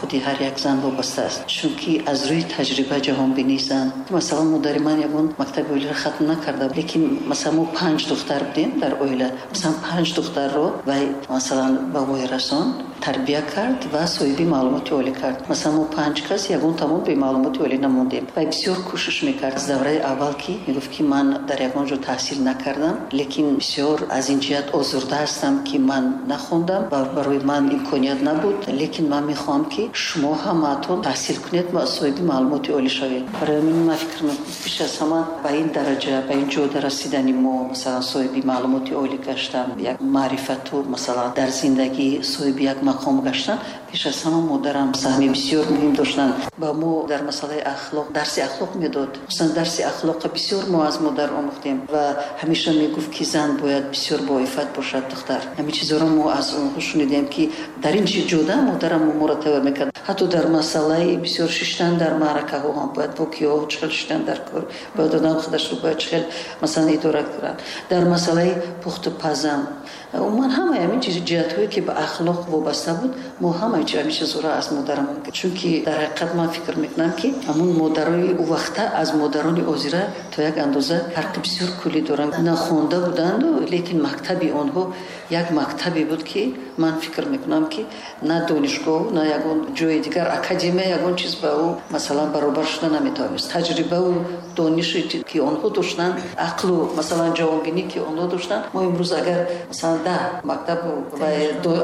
Худи ҳар як зан вобаста аст, чунки аз рӯи таҷриба ҷаҳонбинии зан. Масалан, модари ман ягон мактаби олиро хатм накарда, лекин масалан мо 5 духтар будем дар оила. Масалан, 5 духтарро вай масалан ба воя расон тарбия кард ва соҳиби маълумоти олӣ кард. Масалан, мо 5 кас ягон тамом бе маълумоти олӣ намондем. Вай бисёр кӯшиш мекард. Аз давраи аввал ки мегуфт, ки ман дар ягон ҷо таҳсил накардам, лекин бисёр аз ин ҷиҳат озурда ҳастам, ки ман нахондам ва барои ман имконият набуд, лекин ман мехоҳам, ки шумо ҳамаатон таҳсил кунед ва соҳиби маълумоти олӣ шавед. Барои ҳамин ман фикр мекунам, пеш аз ҳама ба ин дараҷа, ба ин ҷода расидани мо, масалан, соҳиби маълумоти олӣ гаштан, як маърифату, масалан, дар зиндагӣ соҳиби як мақом гаштан, пеш аз ҳама модарам саҳми бисёр муҳим доштанд. Ба мо дар масъалаи ахлоқ дарси ахлоқ медод. Хусусан дарси ахлоқро бисёр мо аз модар омӯхтем ва ҳамеша мегуфт, ки зан бояд бисёр боиффат бошад, духтар. Ҳамин чизҳоро мо аз онҳо шунидем, ки дар ин ҷода модарам моро тайёр мекард. Ҳатто дар масъалаи бисёр шиштан дар маъракаҳо ҳам бояд бо киҳо чӣ хел шиштан дар кор, бояд одам худашро бояд чӣ хел масалан идора кунад. Дар масъалаи пухту пазам, умуман ҳамаи ҳамин чиз ҷиҳатҳое, ки ба ахлоқ вобаста буд, мо ҳамаи ҳамин чизҳоро аз модарамон гирифтем. Чунки дар ҳақиқат ман фикр мекунам, ки ҳамун модарои ӯ вақта аз модарони озира то як андоза фарқи бисёр куллӣ доранд. Нахонда буданду, лекин мактаби онҳо як мактабе буд, ки ман фикр мекунам, ки на донишгоҳ, на ягон ҷои дигар, академия ягон чиз ба ӯ масалан баробар шуда наметавонист. Таҷрибаву донише, ки онҳо доштанд, ақлу масалан ҷавонбинӣ, ки онҳо доштанд, мо имрӯз агар масалан 10 мактабу ва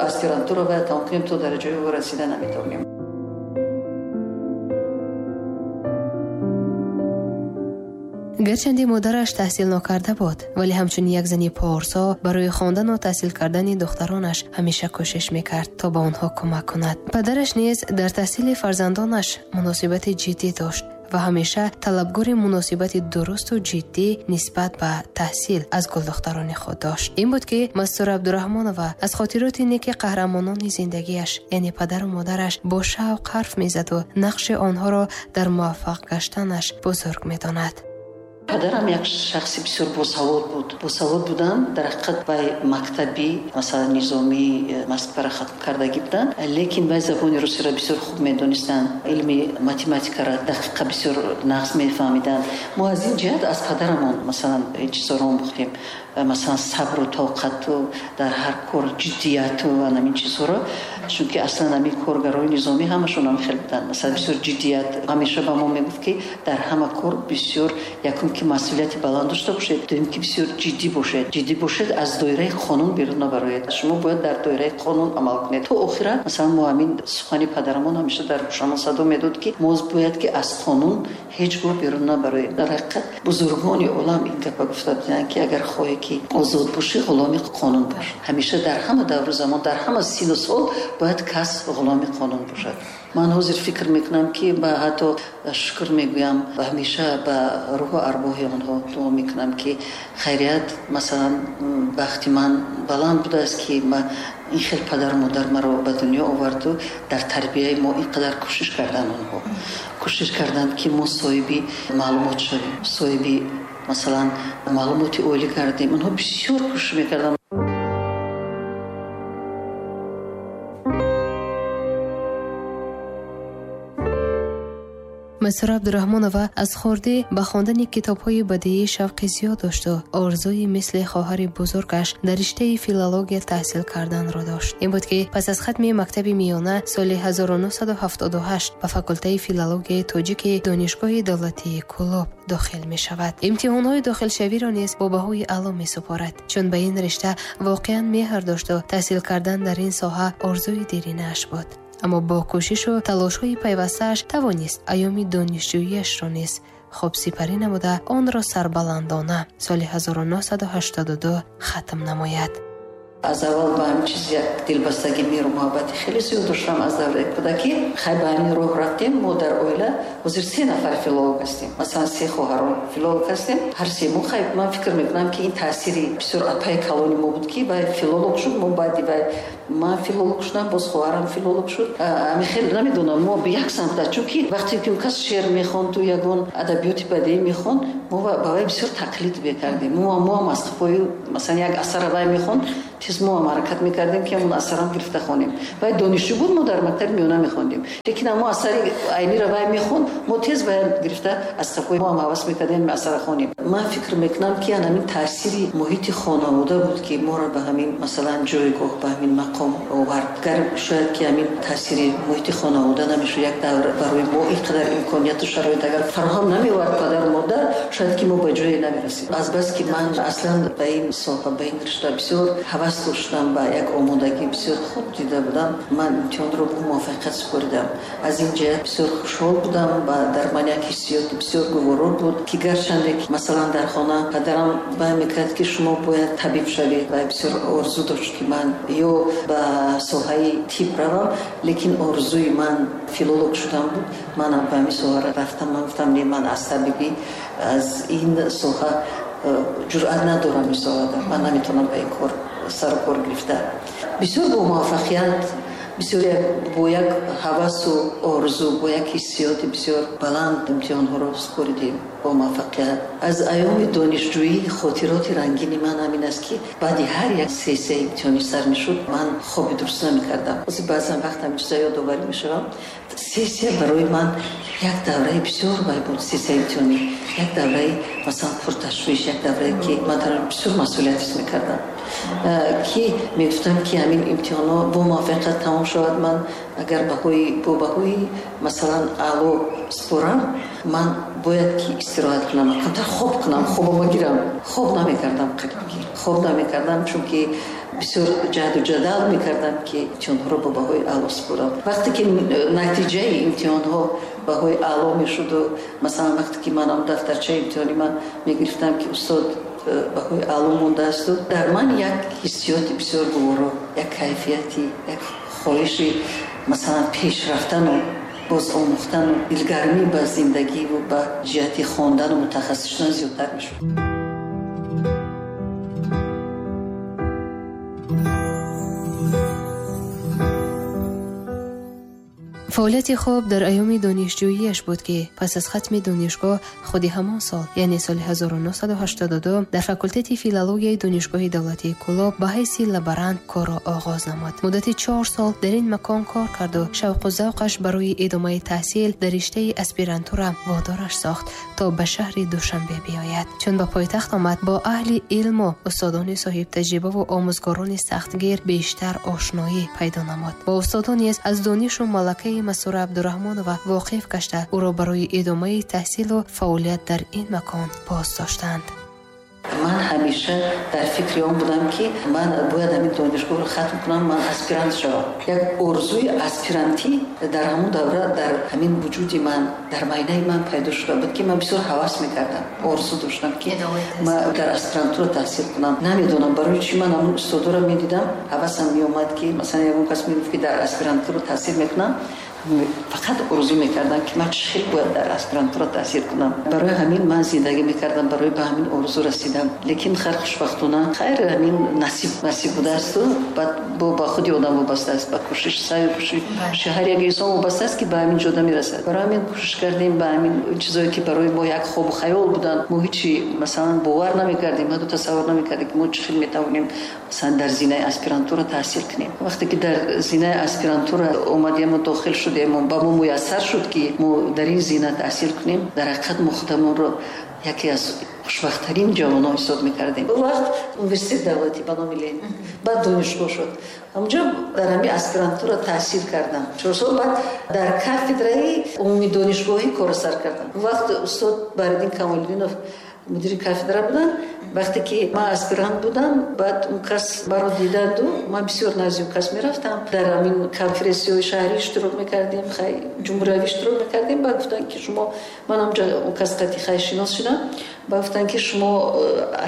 аспирантура бояд тамом кунем, то дараҷаи ӯ расида наметавонем. Гарчанде модараш таҳсил нокарда буд, вале ҳамчун як зани порсо барои хондану таҳсил кардани духтаронаш ҳамеша кӯшиш мекард, то ба онҳо кӯмак кунад. Падараш низ дар таҳсили фарзандонаш муносибати ҷиддӣ дошт ва ҳамеша талабгори муносибати дурусту ҷиддӣ нисбат ба таҳсил аз гулдухтарони худ дошт. Ин буд, ки Мастура Абдураҳмонова аз хотироти неки қаҳрамонони зиндагиаш, яъне падару модараш, бо шавқ ҳарф мезаду нақши онҳоро дар муваффақ гаштанаш бузург медонад. Падарам як шахси бисёр босавод буд. Босавод будан дар ҳақиқат вай мактабӣ, масалан, низомии Москваро хатм кардагӣ буданд, лекин вай забони русиро бисёр хуб медонистанд, илми математикаро дақиқа бисёр нағз мефаҳмиданд. Мо аз ин ҷиҳат аз падарамон масалан ин чизҳоро омӯхтем, масалан сабру тоқату дар ҳар кор ҷиддияту ва ҳамин чизҳоро, чунки аслан ҳамин коргарони низомӣ ҳамашон ҳам хел буданд. Масалан, бисёр ҷиддият. Ҳамеша ба мо мегуфт, ки дар ҳама кор бисёр якум ки масъулияти баланд дошта бошед, дуюм ки бисёр ҷиддӣ бошед. Ҷиддӣ бошед, аз доираи қонун берун набароед. Шумо бояд дар доираи қонун амал кунед. То охира масалан мо ҳамин сухани падарамон ҳамеша дар гӯшамон садо медод, ки мо бояд ки аз қонун ҳеҷ гоҳ берун набароем. Дар ҳақиқат бузургони олам ин гапа гуфта буданд, ки агар хоҳӣ ки озод бошӣ, ғуломи қонун бош. Ҳамеша дар ҳама давру замон, дар ҳама сину сол бояд кас ғуломи қонун бошад. Ман ҳозир фикр мекунам, ки ба ҳатто шукр мегӯям ва ҳамеша ба рӯҳу арвоҳи онҳо дуо мекунам, ки хайрият масалан бахти ман баланд будааст, ки ин хел падару модар маро ба дунё оварду дар тарбияи мо ин қадар кӯшиш карданд. Онҳо кӯшиш карданд, ки мо соҳиби маълумот шавем, соҳиби масалан маълумоти олӣ кардем. Онҳо бисёр кӯшиш мекарданд. Мастура Абдураҳмонова аз хурдӣ ба хондани китобҳои бадиӣ шавқи зиёд дошту орзуи мисли хоҳари бузургаш дар риштаи филология таҳсил карданро дошт. Ин буд, ки пас аз хатми мактаби миёна соли 1978 ба факултаи филологияи тоҷики Донишгоҳи давлатии Кӯлоб дохил мешавад. Имтиҳонҳои дохилшавиро низ бо баҳои аъло месупорад, чун ба ин ришта воқеан меҳр дошту таҳсил кардан дар ин соҳа орзуи деринааш буд. Аммо бо кӯшишу талошҳои пайвастааш тавонист айёми донишҷӯиашро низ хуб сипарӣ намуда, онро сарбаландона соли 1982 хатм намояд. Аз аввал ба ҳамин чиз як дилбастагӣ, меҳру муҳаббати хеле зиёд доштам аз давраи кӯдакӣ. Хай, ба ҳамин роҳ рафтем. Мо дар оила ҳозир 3 нафар филолог ҳастем, масалан 3 хоҳарон филолог ҳастем, ҳар се мо. Хай, ман фикр мекунам, ки ин таъсири бисёр апаи калони мо буд, ки вай филолог шуд, мо баъди вай ман филолог шудам, боз хоҳарам филолог шуд. Ҳамин хел намедонам, мо як самта, чунки вақте ки кас шеър мехонд, ягон адабиёти бадеӣ мехонд, мо ба вай бисёр тақлид мекардем. Мо ҳам аз қафои масалан як асара вай мехонд, Тез мо ҳам ҳаракат мекардем, ки ҳамон асарам гирифта хонем. Вай донишҷӯ буд, мо дар мактаби миёна мехондем. Лекин ҳамон асари Айниро вай мехонд, мо тез вай гирифта аз сафҳои мо ҳам ҳавас мекардем асара хонем. Ман фикр мекунам, ки ҳамин таъсири муҳити хонавода буд, ки моро ба ҳамин масалан ҷойгоҳ, ба ҳамин мақом овард. Гар шояд ки ҳамин таъсири муҳити хонавода намешуд, як давр барои мо ин қадар имконияту шароит агар фароҳам намеовард падару модар, шояд ки мо ба ҷое намерасид. Азбаски ман аслан ба ин соҳа, ба ин ришта бисёр ҳавас доштам, ба як омодагӣ бисёр хуб дида будам, ман имтиҳонро бо муваффақият супоридам. Аз ин ҷиҳат бисёр хушҳол будам ва дар ман як ҳиссиёти бисёр гуворо буд, ки гарчанде ки масалан дар хона падарам баён мекард, ки шумо бояд табиб шавед ва бисёр орзу дошт, ки ман ё ба соҳаи тиб равам, лекин орзуи ман филолог шудан буд. Манам ба ҳамин соҳа рафтам. Ман гуфтам, не, ман аз табибӣ, аз ин соҳа ҷуръат надорам, ин соҳада ман наметавонам ба ин кор сару кор гирифта. Бисёр бо муваффақият, бисёр бо як ҳавасу орзу, бо як ҳиссиёти бисёр баланд имтиҳонҳоро супоридем бо муваффақият. Аз айёми донишҷӯӣ хотироти рангини ман ҳамин аст, ки баъди ҳар як сессияи имтиҳонӣ сар мешуд, ман хоби дуруст намекардам. Ҳозир баъзан вақт ҳамин чиза ёдоварӣ мешавам. Сессия барои ман як давраи бисёр вай буд, сессияи имтиҳонӣ як давраи масалан пурташвиш, як даврае, ки ман дар он бисёр масъулият ҳис мекардам, ки мегуфтам, ки ҳамин имтиҳонҳо бо муваффақият тамом шавад, ман агар бо баҳои масалан аъло супорам, ман бояд ки истироҳат кунам, камтар хоб кунам, хобама гирам. Хоб намекардам, қариб ки хоб намекардам, чунки бисёр ҷаҳду ҷадал мекардам, ки имтиҳонҳоро бо баҳои аъло супорам. Вақте ки натиҷаи имтиҳонҳо баҳои аъло мешуду, масалан вақте ки манам дафтарчаи имтиҳони ман мегирифтам, ки устод, баҳои аъло мондаасту, дар ман як ҳиссиёти бисёр гуворо, як кайфияти, як хоҳиши масалан пеш рафтану боз омӯхтану дилгармӣ ба зиндагиву ба ҷиҳати хондану мутахассис шудан зиёдтар мешуд. Фаъолияти хуб дар айёми донишҷӯияш буд, ки пас аз хатми донишгоҳ худи ҳамон сол, яъне соли 1982, дар факултети филологияи Донишгоҳи давлатии Кӯлоб ба ҳайси лаборант корро оғоз намуд. Муддати 4 сол дар ин макон кор карду шавқу завқаш барои идомаи таҳсил дар риштаи аспирантура водораш сохт, то ба шаҳри Душанбе биёяд. Чун ба пойтахт омад, бо аҳли илму устодони соҳибтаҷрибаву омӯзгорони сахтгир бештар ошноӣ пайдо намуд. Бо устодон низ аз донишу малакаи Мастура Абдураҳмонова воқиф гашта, ӯро барои идомаи таҳсилу фаъолият дар ин макон боз доштанд. Ман ҳамеша дар фикри он будам, ки ман бояд ҳамин донишгоҳро хатм кунам, ман аспирант шавам. Як орзуи аспирантӣ дар ҳамон давра дар ҳамин вуҷуди ман, дар майнаи ман пайдо шуда буд, ки ман бисёр ҳавас мекардам, орзу доштам, ки ман дар аспирантура таҳсил кунам. Намедонам барои чӣ, ман ҳамон устодоро медидам, ҳавасам меомад, ки масалан ягон кас мегуфт, ки дар аспирантура таҳсил мекунам, фақат орзу мекардам, ки ман чӣ хел бояд дар аспирантура таҳсил кунам. Барои ҳамин ман зиндагӣ мекардам, барои ба ҳамин орзу расидам. Лекин хайр, хушбахтона, хайр, ҳамин насиб будаасту баъд ба худи одам вобаста аст, ба кӯшиш, саъю кӯшиши ҳар як инсон вобаста аст, ки ба ҳамин ҷода мерасад. Барои ҳамин кӯшиш кардем ба ҳамин чизое, ки барои мо як хобу хаёл буданд. Мо ҳечи масалан бовар намекардем, ҳатто тасаввур намекардем, ки мо чӣ хел метавонем масалан дар зинаи аспирантура таҳсил кунем. Вақте ки дар зинаи аспирантура омадему дохил шудему ба мо муяссар шуд, ки мо дар ин зина таҳсил кунем, дар ҳақиқат мо худамонро яке аз хушбахттарин ҷавонон ҳисоб мекардем. Он вақт университет давлатӣ ба номи Ленин, баъд донишгоҳ шуд. Ҳамҷо дар ҳамин аспирантура таҳсил кардам 4 сол, баъд дар кафедраи умумидонишгоҳӣ корро сар кардам. Он вақт устод Баҳриддин Камолиддинов мудири кафедра буданд. Вақте ки ман аспирант будам, баъд он кас маро диданду, ман бисёр назди он кас мерафтам, дар ҳамин конференсияҳои шаҳрӣ иштирок мекардем, хай, ҷумҳуриявӣ иштирок мекардем. Баъд гуфтанд, ки шумо, ман ҳамҷо он кас қати хай шинос шудам, баъд гуфтанд, ки шумо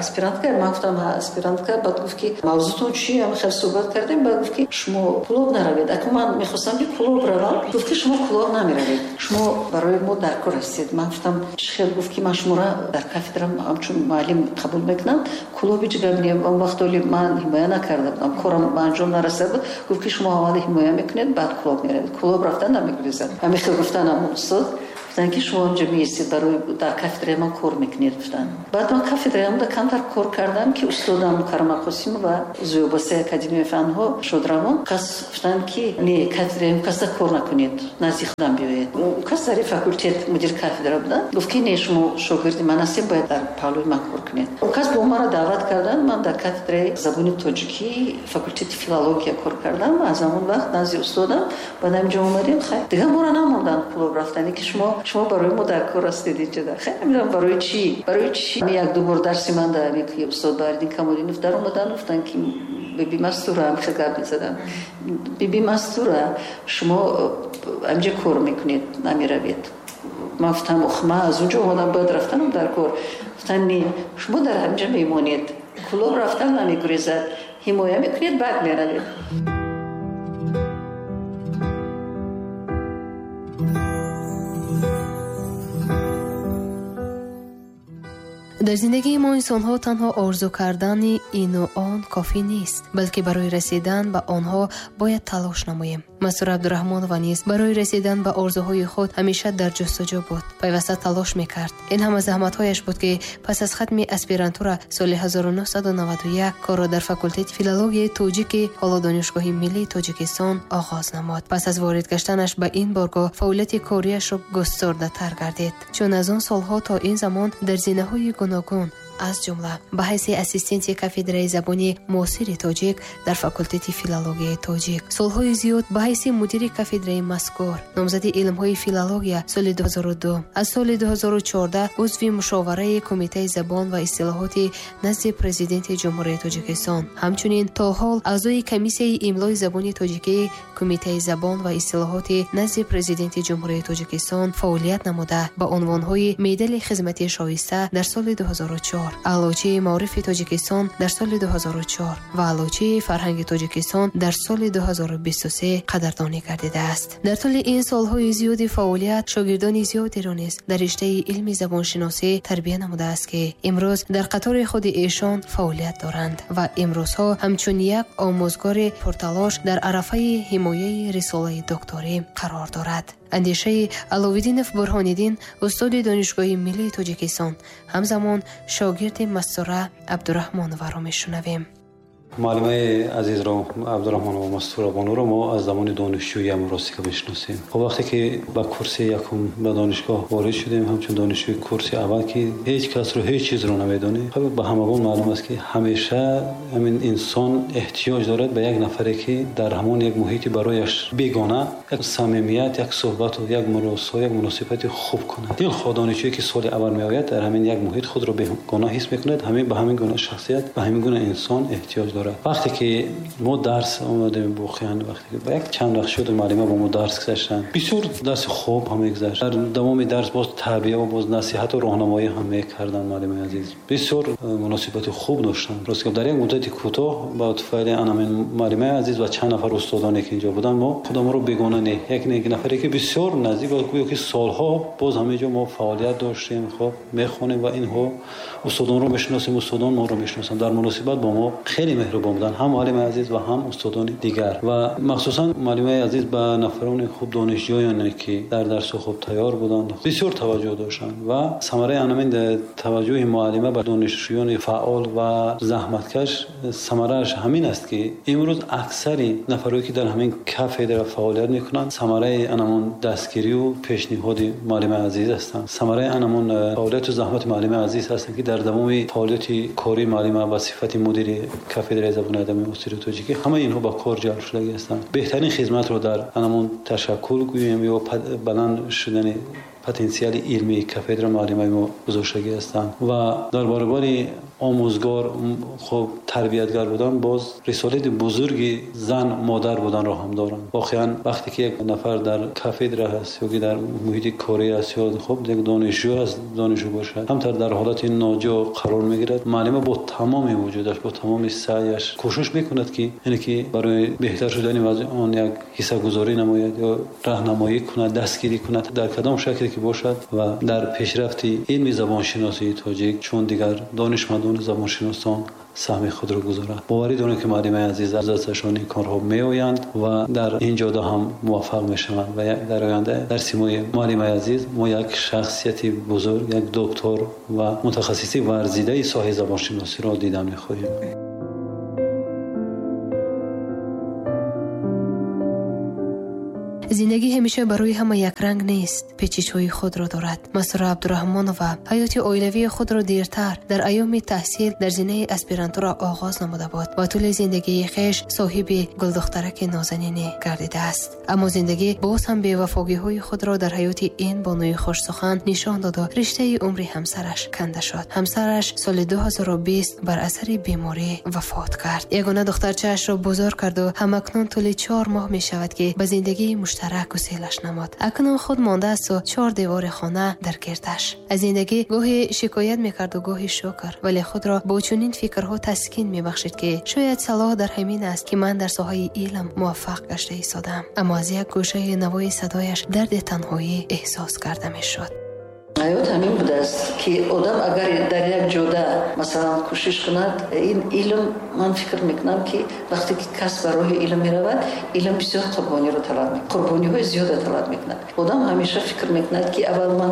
аспирантка? Ман гуфтам, аспирантка. Баъд гуфт, ки мавзӯтон чи? Ҳама хел суҳбат кардем. Баъд гуфт, ки шумо Кӯлоб наравед. Аку ман мехостам, ки Кӯлоб равам. Гуфт, ки шумо Кӯлоб намеравед, шумо барои мо дар кор ҳастед. Ман гуфтам, чӣ хел? Гуфт, ки ман шуморо дар кафедра ҳамчун муаллим қабул мекунам, Кӯлоб ҳеҷ гап не. Он вақт оли ман ҳимоя накарда будам, корам ба анҷом нарасида буд. Гуфт, ки шумо аввал ҳимоя мекунед, баъд Кӯлоб меравед, Кӯлоб рафтан намегурезад. Ҳамин хел гуфтан ҳамон устод. Гуфтанд, ки шумо ҳамҷо меистед, барои дар кафедраи ман кор мекунед, гуфтанд. Баъд ман кафедраямда камтар кор кардам, ки устодам Мукаррама Қосимова, узви Академияи фанҳо шодравон, кас гуфтанд, ки не, кафедраям каса кор накунед, назди худам биёед. Кас дар факултет мудир кафедра буданд. Гуфт, ки не, шумо шогирди ман ҳастед, бояд дар паҳлӯи ман кор кунед. Он кас бо маро даъват карданд, ман дар кафедраи забони тоҷикӣ факултети филология кор кардам. Аз ҳамон вақт назди устодам, баъд ҳаминҷо омадем. Хайр, дигар моро намонданд Кӯлоб рафтан, ки шумо барои мо дар кор ҳастед инҷо. Хайр, намедонам барои чӣ, барои чӣ. Як-ду бор дарси ман дар ки устод Баҳриддин Камолиддинов дар омадан, гуфтанд, ки биби Мастура, ҳам хел гап мезадам, биби Мастура, шумо ҳаминҷо кор мекунед, намеравед. Ман гуфтам, ох, ман аз унҷо омадам, бояд рафтанам дар кор. Гуфтанд, не, шумо дар ҳаминҷо мемонед, Кӯлоб рафтан намегурезад, ҳимоя мекунед, баъд меравед. Дар зиндагии мо инсонҳо танҳо орзу кардани ину он кофӣ нест, балки барои расидан ба онҳо бояд талош намоем. Мастура Абдураҳмонова низ барои расидан ба орзуҳои худ ҳамеша дар ҷустуҷӯ буд, пайваста талош мекард. Ин ҳама заҳматҳояш буд, ки пас аз хатми аспирантура соли 1991 корро дар факултети филологияи тоҷики ҳоло Донишгоҳи миллии Тоҷикистон оғоз намуд. Пас аз ворид гаштанаш ба ин боргоҳ фаъолияти кориашро густурдатар гардид, чун аз он солҳо то ин замон дар зинаҳои гуногун, аз ҷумла ба ҳайси ассистенти кафедраи забони муосири тоҷик дар факултети филологияи тоҷик, солҳои зиёд ба ҳайси мудири кафедраи мазкур, номзади илмҳои филология соли 2002, аз соли 2014 узви мушовараи Кумитаи забон ва истилоҳоти назди Президенти Ҷумҳурии Тоҷикистон, ҳамчунин то ҳол аъзои комиссияи имлои забони тоҷикии Кумитаи забон ва истилоҳоти назди Президенти Ҷумҳурии Тоҷикистон фаъолият намуда, ба унвонҳои медали хизмати шоиста дар соли 2004, Аълочии маорифи Тоҷикистон дар соли 2004 ва Аълочии фарҳанги Тоҷикистон дар соли 2023 қадрдонӣ гардидааст. Дар тӯли ин солҳои зиёди фаъолият шогирдони зиёдеро низ дар риштаи илми забоншиносӣ тарбия намудааст, ки имрӯз дар қатори худи эшон фаъолият доранд ва имрӯзҳо ҳамчун як омӯзгори пурталош дар арафаи ҳимояи рисолаи докторӣ қарор дорад. Андешаи Аловиддинов Бурҳониддин, устоди Донишгоҳи миллии Тоҷикистон, ҳамзамон шогирди Мастура Абдураҳмонованро мешунавем. Муаллимаи азизро Абдураҳмонова Мастура Бонуро мо аз замони донишҷӯиам ростика мешиносем. Хоб, вақте ки ба курси якум ба донишгоҳ ворид шудем, ҳамчун донишҷӯи курси аввал, ки ҳеҷ касро, ҳеҷ чизро намедонем, хоб, ба ҳамагон маълум аст, ки ҳамеша ҳамин инсон эҳтиёҷ дорад ба як нафаре, ки дар ҳамон як муҳити барояш бегона як самимият, як суҳбату як муросо, як муносибати хуб кунад. Дилхоҳ донишҷӯе ки соли аввал меояд, дар ҳамин як муҳит худро бегона ҳис мекунад, ҳамин ба ҳамин гуна шахсият, ба ҳамин гуна инсон эҳтиёҷ дорад. Вақте ки мо дарс омадем, воқеан вақте ки як чанд вақт шуд муаллима бо мо дарс гузаштанд, бисёр дарси хуб ҳам мегузашт. Дар давоми дарс боз тарбия ва боз насиҳату роҳнамоӣ ҳам мекарданд муаллимаи азиз. Бисёр муносибати хуб доштанд. Рост гап, дар як муддати кӯтоҳ ба туфайли анамин муаллимаи азиз ва чанд нафар устодоне ки инҷо буданд, мо худамонро бегона не, як нафаре ки бисёр наздик ва гӯё ки солҳо боз ҳамин ҷо мо фаъолият доштем, хоб мехонем ва инҳо устодонро мешиносем, устодон моро мешиносанд. Дар муносибат бо мо хеле меҳрубон буданд, ҳам муаллимаи азиз ва ҳам устодони дигар. Ва махсусан муаллимаи азиз ба нафарони хуб, донишҷӯёне ки дар дарсҳо хуб тайёр буданд, бисёр таваҷҷӯҳ доштанд ва самараи анамин таваҷҷӯҳи муаллима ба донишҷӯёни фаъол ва заҳматкаш самарааш ҳамин аст, ки имрӯз аксари нафарое ки дар ҳамин кафедра фаъолият мекунанд, самараи анамон дастгирию пешниҳоди муаллимаи азиз ҳастанд, самараи анамон фаъолияту заҳмати муаллимаи азиз ҳастанд, ки дар давоми фаъолияти кории муаллима ба сифати мудири кафедраи забони адаби муосири тоҷикӣ ҳамаи инҳо ба кор ҷалб шудагӣ ҳастанд. Беҳтарин хизматро дар анамон ташаккул гӯем ё баланд шудани потенсиали илмии кафедра муаллимаи мо гузоштагӣ ҳастанд ва дар баробари омӯзгор, хуб тарбиятгар будан, боз рисолати бузурги зан, модар буданро ҳам доранд. Воқеан вақте ки як нафар дар кафедра ҳаст ё ки дар муҳити корӣ аст ё хуб як донишҷӯ аст, донишҷӯ бошад, ҳамтар дар ҳолати ноҷо қарор мегирад, муаллима бо тамоми вуҷудаш, бо тамоми саъяш кӯшиш мекунад, ки яъне ки барои беҳтар шудани вазъи он як ҳиссагузорӣ намояд ё раҳнамоӣ кунад, дастгирӣ кунад дар кадом шакле ки бошад ва дар пешрафти илми забоншиносии тоҷик, чун дигар донишмандони забоншиносон саҳми худро гузорад. Боварӣ дорем, ки муаллимаи азиз аз дасташон ин корҳо меоянд ва дар ин ҷода ҳам муваффақ мешаванд ва дар оянда дар симои муаллимаи азиз мо як шахсияти бузург, як доктор ва мутахассиси варзидаи соҳаи забоншиносиро дидан мехоҳем. Зиндагӣ ҳамеша барои ҳама якранг нест, печишҳои худро дорад. Мастура Абдураҳмонова ҳаёти оилавии худро дертар дар айёми таҳсил дар зинаи аспирантура оғоз намуда буд ва тӯли зиндагии хеш соҳиби гулдухтараки нозанине гардидааст. Аммо зиндагӣ боз ҳам бевафогиҳои худро дар ҳаёти ин бонуи хушсухан нишон доду риштаи умри ҳамсараш канда шуд. Ҳамсараш соли 2020 бар асари беморӣ вафот кард. Ягона духтарчаашро бузург карду ҳамакнун тӯли 4 моҳ мешавад, ки ба зиндагии муштарак гуселаш намуд. Акнун худ мондаасту 4 девори хона дар гирдаш. Аз зиндагӣ гоҳе шикоят мекарду гоҳе шукр, вале худро бо чунин фикрҳо таскин мебахшид, ки шояд салоҳ дар ҳамин аст, ки ман дар соҳаи илм муваффақ гашта истодам. Аммо аз як гӯшаи навои садояш дарди танҳоӣ эҳсос карда мешуд. Ҳаёт ҳамин будааст, ки одам агар дар як ҷода масалан кӯшиш кунад, ин илм, ман фикр мекунам, ки вақте ки кас ба роҳи илм меравад, илм бисёр қурбониро талаб мекунад, қурбониҳои зиёда талаб мекунад. Одам ҳамеша фикр мекунад, ки аввал ман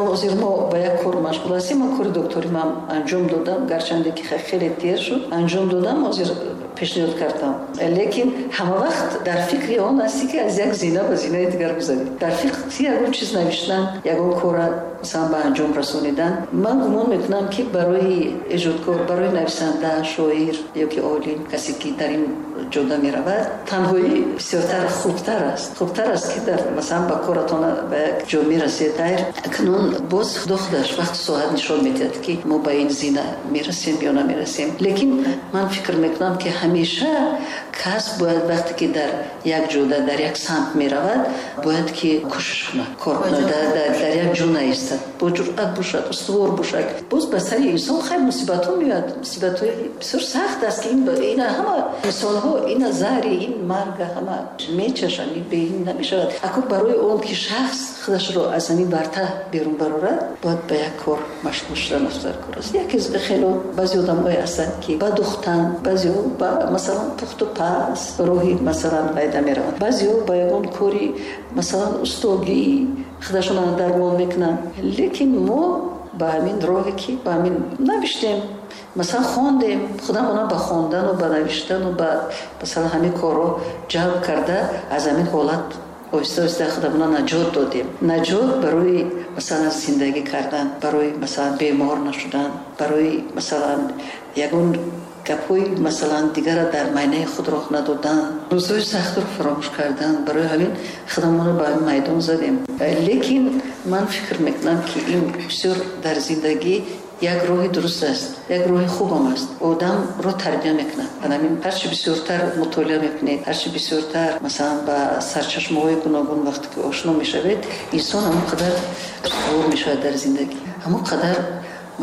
ҳозир мо ба як кор машғул ҳастем, ман кори докторӣ ман анҷом додам, гарчанде ки хеле дер шуд, анҷом додам, ҳозир пешниҳод кардам. Лекин ҳама вақт дар фикри он ҳастӣ, ки аз як зина ба зинаи дигар гузарӣ. Дар фикри ягон чиз навиштан, ягон кора масалан ба анҷом расонидан. Ман гумон мекунам, ки барои эҷодкор, барои нависанда, шоир ё ки олим, касе ки дар ин ҷода меравад, танҳоӣ бисёртар хубтар аст. Хубтар аст, ки дар масалан ба коратон ба як ҷо мерасед. Акнун боз Худо худаш вақту соат нишон медиҳад, ки мо ба ин зина мерасем ё намерасем. Лекин ман фикр мекунам, ки ҳамеша кас бояд вақте ки дар як ҷода, дар як самт меравад, бояд ки кӯшиш кунад, кор кунад, дар як ҷо наистад, бо ҷуръат бошад, устувор бошад. Боз ба сари инсон хайр мусибатҳо меояд, мусибатҳои бисёр сахт аст, ки ина ҳама инсонҳо ина заҳри ин марга ҳама мечашанд, ин бе ин намешавад. Акун барои он ки шахс худашро аз ҳамин варта берун барорад, бояд ба як кор машғул шудан дар кор аст. Яке хело баъзе одамҳое ҳастанд, ки ба духтан, баъзеҳо ба масалан пухту паз роҳи масалан пайда мераванд, баъзеҳо ба ягон кори масалан устогӣ худашонро дармон мекунанд. Лекин мо ба ҳамин роҳе ки ба ҳамин навиштем, масалан хондем, худамона ба хондану ба навиштану ба масалан ҳамин корро ҷалб карда, аз ҳамин ҳолат оҳиста оҳиста худамона наҷот додем. Наҷот барои масалан зиндагӣ кардан, барои масалан бемор нашудан, барои масалан ягон гапҳои масалан дигара дар майнаи худ роҳ надодан, рӯзҳои сахтро фаромӯш кардан. Барои ҳамин худамонро ба ҳамин майдон задем. Лекин ман фикр мекунам, ки ин бисёр дар зиндагӣ як роҳи дуруст аст, як роҳи хубам аст. Одамро тарбия мекунад. Ҳамин ҳарчи бисёртар мутолиа мекунед, ҳарчи бисёртар масалан ба сарчашмаҳои гуногун вақте ки ошно мешавед, инсон ҳамон қадар устувор мешавад дар зиндагӣ, ҳамон қадар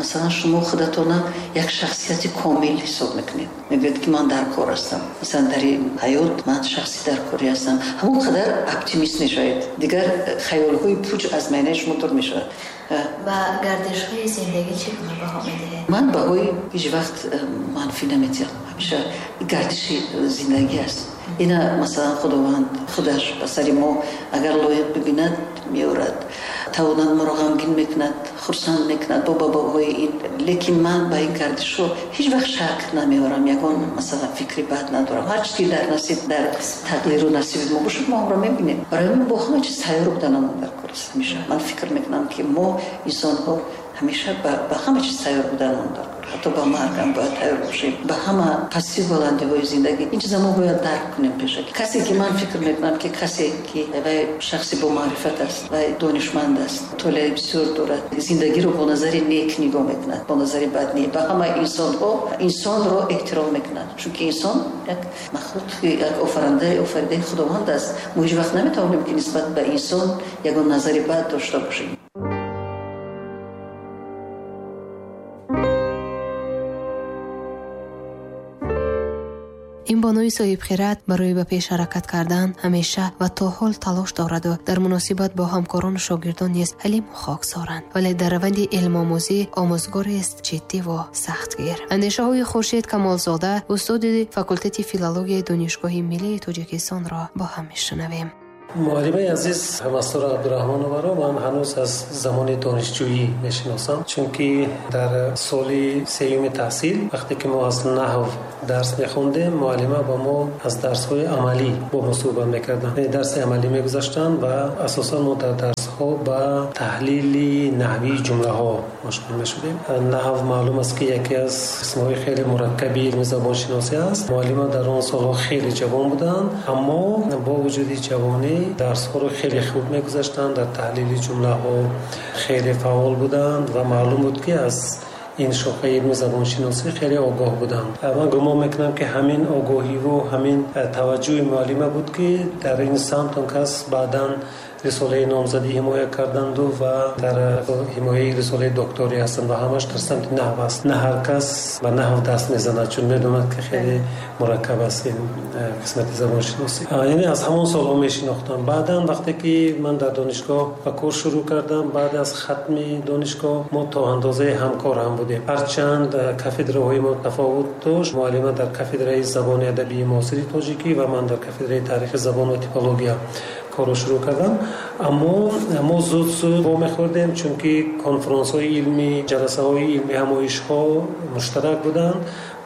масалан шумо худатона як шахсияти комил ҳисоб мекунед. Мегӯед, ки ман дар кор ҳастам, масалан дар ин ҳаёт ман шахси даркорӣ ҳастам. Ҳамон қадар оптимист мешавед, дигар хаёлҳои пуч аз майнаи шумо дур мешавад. Ба гардишҳои зиндагӣ чӣ гуна баҳо медиҳед? Ман баҳои ҳеҷ вақт манфӣ намедиҳам. Ҳамеша гардиши зиндагӣ аст. Ина масалан Худованд худаш ба сари мо агар лоиқ бибинад меорад, тавонад моро ғамгин мекунад, хурсанд мекунад бо баҳои ин. Лекин ман ба ин гардишҳо ҳеҷ вақт шак намеорам, ягон масалан фикри бад надорам. Ҳар чиз ки дар насиб, дар тақдиру насиби мо бошад, мо онро мебинем. Барои мо бо ҳама чиз тайёр буданамон дар кор аст. Ҳамеша ман фикр мекунам, ки мо инсонҳо ҳамеша ба ҳама чиз тайёр буданамон дар кор, ҳатто ба маргам бояд тайёр бошем, ба ҳама пастию баландиҳои зиндагӣ. Ин чиза мо бояд дарк кунем пешакӣ. Касе ки ман фикр мекунам, ки касе ки вай шахси бомаърифат аст, вай донишманд аст, мутолиаи бисёр дорад, зиндагиро бо назари нек нигоҳ мекунад, бо назари бад не, ба ҳама инсонҳо инсонро эҳтиром мекунад, чунки инсон як махлуқ, як офаридаи Худованд аст. Мо ҳеҷ вақт наметавонем, ки нисбат ба инсон ягон назари бад дошта бошем. Ин бонуи соҳибхират барои ба пеш ҳаракат кардан ҳамеша ва то ҳол талош дораду дар муносибат бо ҳамкорону шогирдон низ ҳалиму хоксоранд. Вале дар раванди илмомӯзӣ омӯзгорест ҷиддиву сахтгир. Андешаҳои Хуршед Камолзода, устоди факултети филологияи Донишгоҳи миллии Тоҷикистонро бо ҳам мешунавем. Муаллимаи азиз Мастура Абдураҳмонованро ман ҳанӯз аз замони донишҷӯӣ мешиносам, чунки дар соли сеюми таҳсил вақте ки мо аз наҳв дарс мехондем, муаллима ба мо аз дарсҳои амалӣ бо мо суҳбат мекарданд. Дарси амалӣ мегузаштанд ва асосан мо дар дарсҳо ба таҳлили наҳвии ҷумлаҳо машғул мешудем. Наҳв маълум аст, ки яке аз қисмҳои хеле мураккаби илми забоншиносӣ аст. Муаллима дар он солҳо хеле ҷавон буданд, аммо бо вуҷуди ҷавонӣ дарсҳоро хеле хуб мегузаштанд, дар таҳлили ҷумлаҳо хеле фаъол буданд ва маълум буд, ки аз ин шохаи илми забоншиносӣ хеле огоҳ буданд. Ман гумон мекунам, ки ҳамин огоҳиву ҳамин таваҷҷӯҳи муаллима буд, ки дар ин самт он кас баъдан рисолаи номзадӣ ҳимоя карданду ва дар ҳимояи рисолаи докторӣ ҳастанд ва ҳамаш дар самти наҳв аст. На ҳар кас ба наҳв даст мезанад, чун медонад, ки хеле мураккаб аст ин қисмати забоншиносӣ. Яъне аз ҳамон солҳо мешинохтам. Баъдан вақте ки ман дар донишгоҳ ба кор шурӯъ кардам, баъд аз хатми донишгоҳ мо то андозаи ҳамкор ҳам будем. Ҳарчанд кафедраҳои мо тафовут дошт, муаллима дар кафедраи забони адабии муосири тоҷикӣ ва ман дар кафедраи таърихи забон ва типология корро шурӯъ кардам. Аммо мо зуд-зуд вомехӯрдем, чунки конфронсҳои илмӣ, ҷаласаҳои илмӣ, ҳамоишҳо муштарак буданд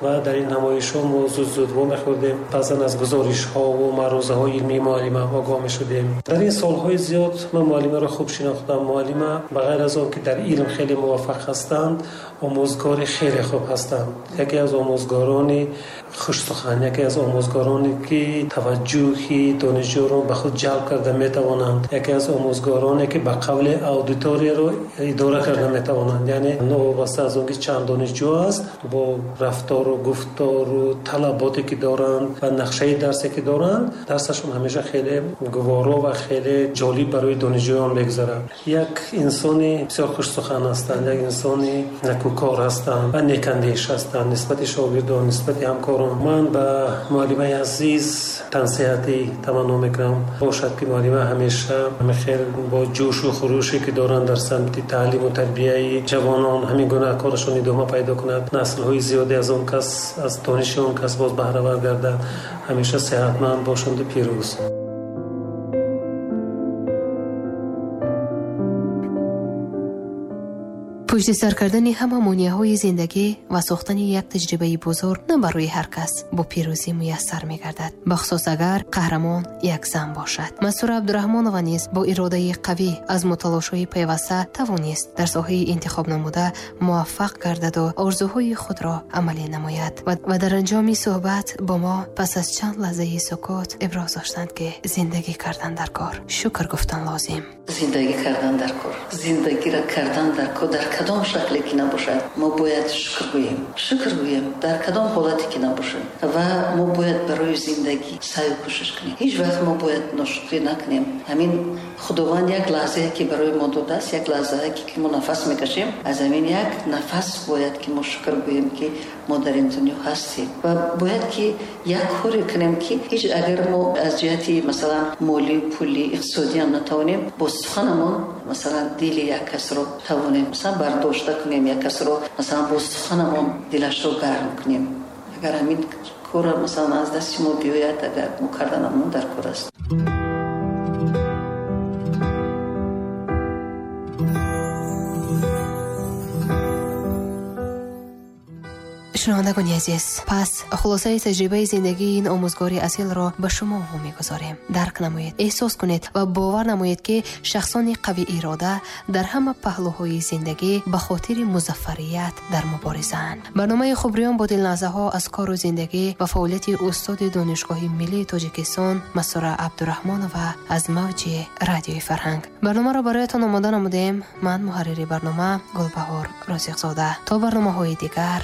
ва дар ин ҳамоишҳо мо зуд-зуд вомехӯрдем. Баъзан аз гузоришҳо ва маърузаҳои илмии муаллима огоҳ мешудем. Дар ин солҳои зиёд ман муаллимаро хуб шинохтам. Муаллима ба ғайр аз он ки дар илм хеле муваффақ ҳастанд, омӯзгори хеле хуб ҳастанд. Яке аз омӯзгорони хушсухан, яке аз омӯзгороне ки таваҷҷӯҳи донишҷӯро ба худ ҷалб карда метавонанд, яке аз омӯзгороне ки ба қавли аудиторияро идора карда метавонанд. Яъне новобаста аз он ки чанд донишҷӯ аст, бо рафтору гуфтору талаботе ки доранд ва нақшаи дарсе ки доранд, дарсашон ҳамеша хеле гуворо ва хеле ҷолиб барои донишҷӯён мегузарад. Як инсони бисёр хушсухан ҳастанд, як инсони некӯкор ҳастанд ва некандеш ҳастанд нисбати шогирдон, нисбати ҳамкорон. Ман ба муаллимаи азиз тансиҳатӣ таманно мекунам, бошад ки муаллима ҳамеша хел бо ҷӯшу хуруше ки доранд дар самти таълиму тарбияи ҷавонон ҳамин гуна корашон идома пайдо кунад, наслҳои зиёде аз он кас, аз дониши он кас боз баҳравар гардад, ҳамеша сеҳатманд бошанду пирӯз. Пушти сар кардани ҳама монеаҳои зиндагӣ ва сохтани як таҷрибаи бузург на барои ҳар кас бо пирӯзӣ муяссар мегардад, бахусус агар қаҳрамон як зан бошад. Мастура Абдураҳмонова низ бо иродаи қавӣ аз мутолошои пайваста тавонист дар соҳаи интихобнамуда муваффақ гардаду орзуҳои худро амалӣ намояд ва дар анҷоми суҳбат бо мо пас аз чанд лаҳзаи сукут иброз доштанд, ки зиндагӣ кардан дар кор, шукр гуфтан лозим. Зиндагӣ кардан дар кор, зиндагиро кардан дар кор, дар кадом шакле ки набошад, мо бояд шукр гӯем. Шукр гӯем дар кадом ҳолате ки набошад. Ва мо бояд барои зиндагӣ саъю кӯшиш кунем. Ҳеҷ вақт мо бояд ношукрӣ накунем. Ҳамин Худованд як лаҳзае ки барои мо додааст, як лаҳзае ки мо нафас мекашем, аз ҳамин як нафас бояд ки мо шукр гӯем, ки мо дар ин дунё ҳастем. Ва бояд ки як коре кунем, ки ҳеҷ агар мо аз ҷиҳати масалан молӣ, пулӣ, иқтисодӣ ҳам натавонем, бо суханамон масалан дили як касро тавонем масалан бардошта кунем, як касро масалан бо суханамон дилашро гарм кунем. Агар ҳамин корро масалан аз дасти мо биёяд, агар мо карданамон дар кор аст. Шунавандагони азиз, пас хулосаи таҷрибаи зиндагии ин омӯзгори асилро ба шумо вомегузорем. Дарк намоед, эҳсос кунед ва бовар намоед, ки шахсони қавиирода дар ҳама паҳлӯҳои зиндагӣ ба хотири музаффарият дар муборизаанд. Барномаи Хубриён бо дилназаҳо аз кору зиндагӣ ва фаъолияти устоди Донишгоҳи миллии Тоҷикистон Мастура Абдураҳмонова аз мавҷи Радиои Фарҳанг. Барномаро бароятон омода намудем. Ман муҳаррири барнома Гулбаҳор Розиқзода. То барномаҳои дигар.